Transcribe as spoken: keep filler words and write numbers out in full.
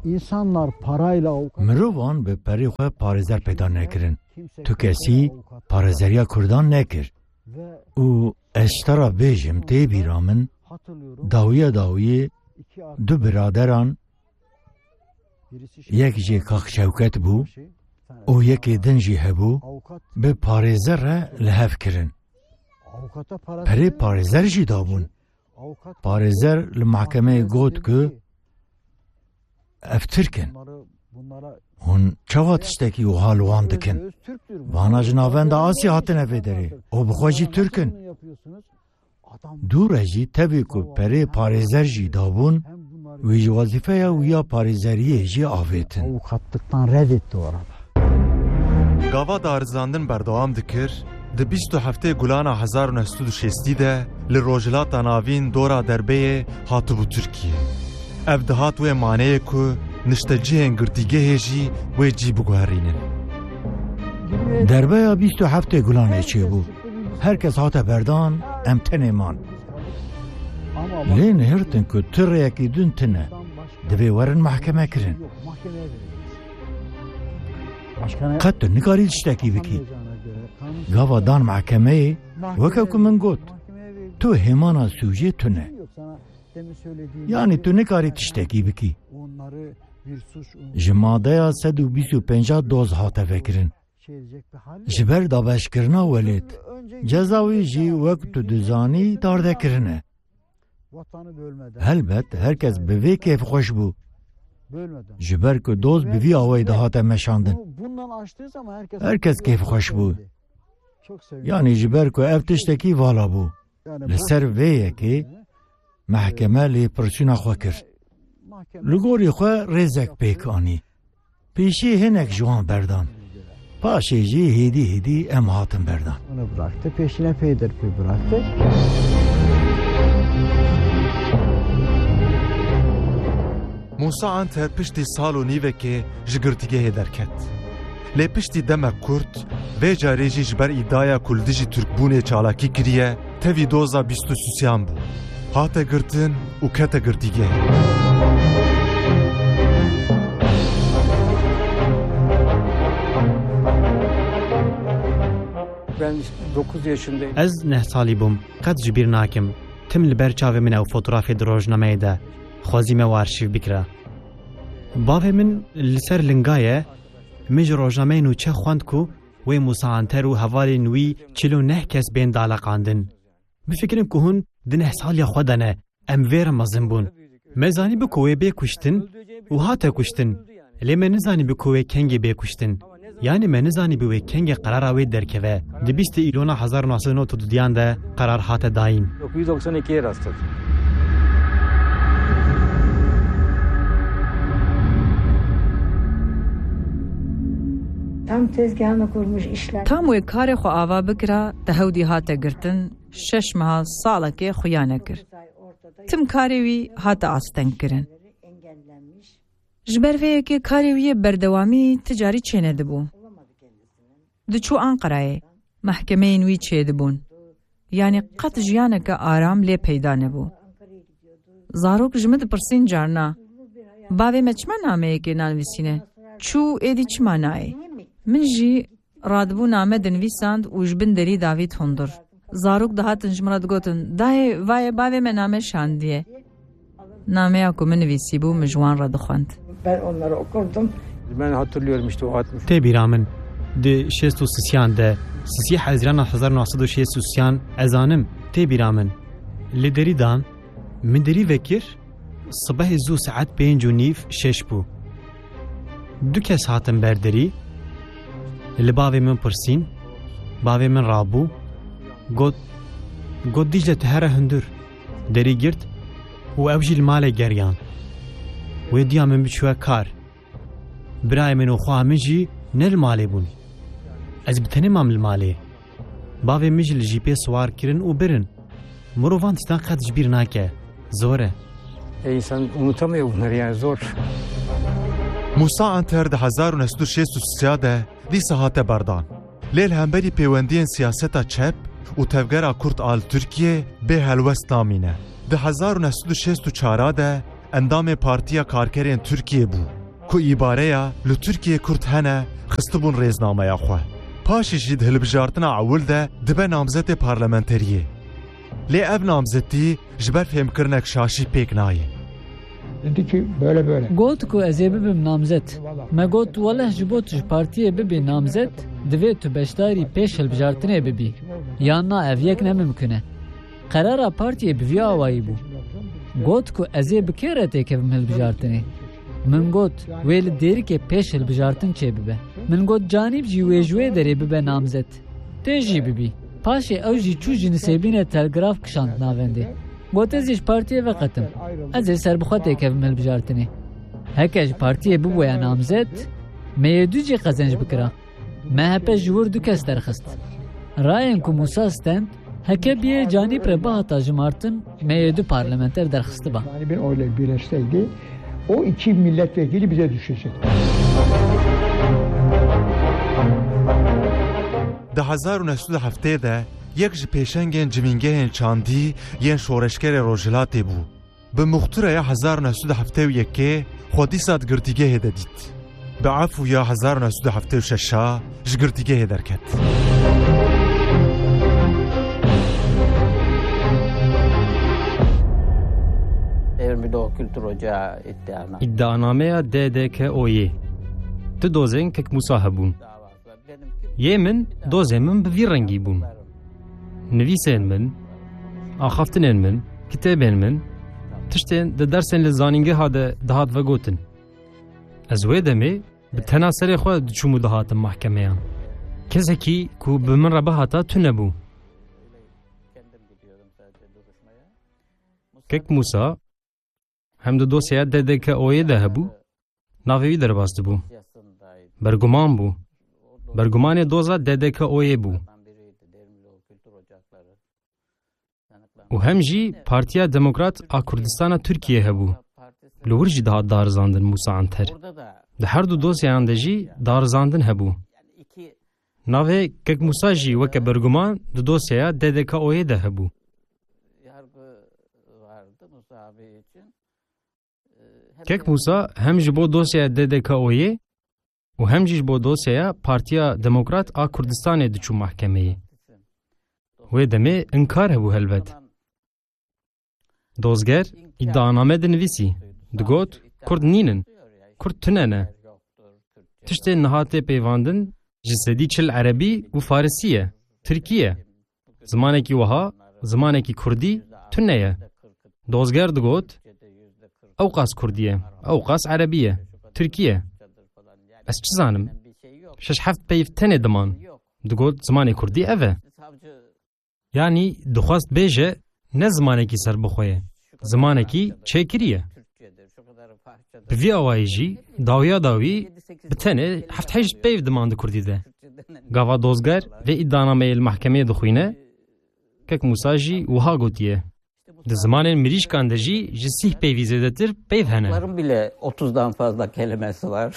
İnsanlar parayla avukat... Mirovan bi perê xwe parêzer peyda nekirin. Tu kesî parêzeriya Kurdan nekir. Û ez ji te re bêjim, tê bîra min, dawiya dawiyê du biraderan, yek jê Kak Şewket bû û yekê din jî hebû, bi parêzer re li hev kirin. Perê parêzer jî dabûn. Parêzer li mahkemeyê got ku ev Tirk in. Hûn çawa tiştekî wiha li wan dikin? Vana ji navenda Asya hatine vê derê û bi xwe jî Tirk in. Dû re jî tevî ku perê parêzer jî dabûn, wî ji wezîfeya wî ya parêzeriyê jî avêtin. Avukatlıktan red etti o arada. Gava darizandin berdewam dikir, di bîst û heftê Gulana hezar û neh sed û şêstî de li Rojhilata Navîn dora Derbeyê hatibû Tirkiye. Ev dihat wê maneyê ku niştecihên girtîgehê jî wê cî biguherînin. Derbeya bîst û heftê Gulanê çêbû. Her kes hate berdan, em tenê man. Lê nihirtin ku tu rêyekî din tune. Divê werin mahkeme kirin. Qet tu nikarî tiştekî bikî. Gava dan mahkemeyê, weke ku min got, tu hêmana sûcê tune. Yanî tu nikarî tiştekî bikî. Ji madeya sed û bîst û pênc doz hate vekirin. Ji ber dabeşkirina welêt, ceza wî jî wek tu dizanî dardekirine. Helbet her kes bi vê kêfxweş bû. Ji ber ku doz bi vî awayî dihate meşandin. Her kes kêfxweş bû. Yanî ji ber ku ev tiştekî vala bû. Li ser vê yekê mehkeme lêpirsîna xwe kir. Li gorî xwe rêzek pêk anî. Pêşî hinek ji wan berdan. Paşê jî hêdî hêdî em hatin berdan. Onu bıraktı, peşine peyderpey bıraktı. Musa Anter piştî sal û nîvekê ji girtîgehê derket. Lê piştî demek kurt, vê carê jî ji ber îdiaya ku li dijî Tirkbûnê çalakî kiriye, tevî doza bîst û sisiyan bû. Hate girtin û kete girtîgehê. Ben dokuz yaşındayım. Ez neh salî bûm. Qet ji bîr nakim. Tim li ber çavê min ew fotografê di rojnameyê de. Xwezî me û arşîv bikira. Bavê min li ser linga ye. Min ji rojnameyê nûçe xwend ku wê Musa Anter û hevalên wî çil û neh kes bên daleqandin. Bifikirin ku hûn di neh saliya xwe de ne, em vê re mezin bûn. Me zanîbû ku wê bê kuştin û hate kuştin. Lê me nizanîbû ku wê kengê bê kuştin. Yanî me nizanîbû wê kengê qerara wê derkeve. Di bîstê Îlona hezar û neh sed û newid û duyan de qerar hate dayîn. Dokuz yüz doksan ikiye rastladım. Tam tezgahını kurmuş işler. Tam wê karê xwe ava bikira, te hewdî hate girtin, şeş meha salekê xuya nekir. Tim karê wî hate astengkirin. Ji ber vê yekê karê wî yê berdewamî ti carî çênedibû. Diçû Anqerayê, mehkemeyên wî çêdibûn. Yanî qet jiyaneke aram lê peyda nebû. Zarok ji min dipirsîn carna, "Bavê me çima nameyekê nanivîsîne? Çû êdî çima nayê?" Min jî radibû name dinivîsand û ji bin derî davît hundir. Zarok dihatin ji min re digotin, "Dayê, vayê bavê me name şandiye." Nameya ku min nivîsîbû, min ji wan re dixwend. Ben onları okurdum. Ben hatırlıyorum işte o altmış. Tê bîra min, di şêst û sisiyan de, sisî Hezîrana hezar û neh sed û şêst û sisiyan, ez zanim, tê bîra min. Li derî dan, min derî vekir, sibehê zû saet pênc û nîv şeş bû. Du kes hatin ber derî, li bavê min pirsîn, bavê min rabû, got, got, "Dîcle, tu here hundir." Derî girt û ew jî li malê geriyan. Wê diya min biçûye kar. Birayê min û xweha min jî ne li malê bûn. Ez bi tenê mam li malê. Bavê min jî li jîpê siwar kirin û birin. Mirovan tiştan qet ji bîr nake. Zor e. E, insan unutamıyor bunları yani, zor. Musa Anter di hezar û neh sed û şêst û sê de dîsa hate berdan. Lê li hemberî pêwendiyên siyaseta çep û tevgera Kurd a li Tirkiyê bê helwest namîne. Di hezar û neh sed û şêst û çar de endamê Partiya Karkerên Tirkiyê bû, ku îbareya li Tirkiyê Kurd hene xistibûn rêznameya xwe. Paşê jî di hilbijartina ewil de dibe namzetê parlamenteriyê. Lê ev namzetî ji ber fêmkirinek şaşî pêk nayê. Dedi ki böyle böyle. Got ku ez ê bibim namzet. Me got, weleh ji bo tu ji partiyê bibî namzet, divê tu beşdarî pêş hilbijartinê bibî. Yan na, ev yek ne mimkun e. Qerara partiyê bi vî awayî bû. Got ku ez ê bi kê re têkevim hilbijartinê? Min got, wê li Dêrikê pêş hilbijartin çêbibe. Min got, Canîb jî wê ji wê derê bibe namzet. Tê jî bibî. Paşê ew jî çû ji Nisêbînê telgraf kişand navendê. Got, ez ê ji partiyê veqetim. Ez ê serbixwe têkevim hilbijartinê. Heke ji partiyê bibûya namzet, M Y D jî qezenc bikira. M H P ji wir du kes derxist. Rayên ku Mûsa stend, heke biyê Canîb re bihata jimartin, M Y D parlamenter derxistiba. Canibin oyla birleşseydi, o iki milletvekili bize düşecekti. Di hezar û neh sed û heftê de yek ji pêşengên civîngehên çandî yên şoreşgerê Rojhilatê bû. Bi muxtireya hezar neh sed û heftê û yekê xwe dîsa di girtîgehê de dît. Bi efûya hezar neh sed û heftê û şeş a ji girtîgehê derket. Îddianameya D D K O'yê. Tu dozên Kek Mûsa hebûn. Yê min, dozên min bi vî rengî bûn. Nivîsên min, axaftinên min, kitêbên min, tiştên di dersên li zanîngeha de dihat vegotin. Ez wê demê bi tena serê xwe diçûm û dihatim mahkemeyan. Kesekî ku bi min re bihata tune bû. Kek Mûsa, hem di dosyaya D D K O'yê de hebû, navê wî derbas dibû. Berguman bû. Bergumanê doza D D K O'yê bû. Û hem jî Partiya Demokrat a Kurdistana Tirkiyê hebû. Li wir jî dihat darizandin Mûsa Anter. Di her du dosyayan de jî darizandin hebû. Navê Kek Mûsa jî weke berguman di dosyaya D D K O'yê de hebû. Kek Mûsa hem ji bo dosyaya D D K O'yê û hem jî ji bo dosyaya Partiya Demokrat a Kurdistanê diçû mahkemeyê. Wê demê inkar hebû helbet. Dozger îdianame dinivîsî, digot, Kurd nînin, Kurd tune ne. Tiştên niha tê peyvandin ji sedî çil erebî û farisî ye, tirkî ye. Zimanekî wiha, zimanekî kurdî, tune ye. Dozger digot, ewqas kurdî ye, ewqas erebî ye, tirkî ye. Ez çi zanim? Şeş heft peyv tenê diman. Digot, zimanê kurdî ev e. Yanî dixwest bêje, ne zimanekî serbixwe ye, zimanekî çêkirî ye. Bi vî awayî jî dawiya dawî bi tenê heft heyşt peyv diman di kurdî de. Gava Dozger vê îdianameyê li mehkemeyê dixwîne, Kek Mûsa jî wiha gotiye, di zimanên mirîşkan de jî ji sîh peyvî zêdetir peyv hene. Bile otuzdan fazla kelimesi var.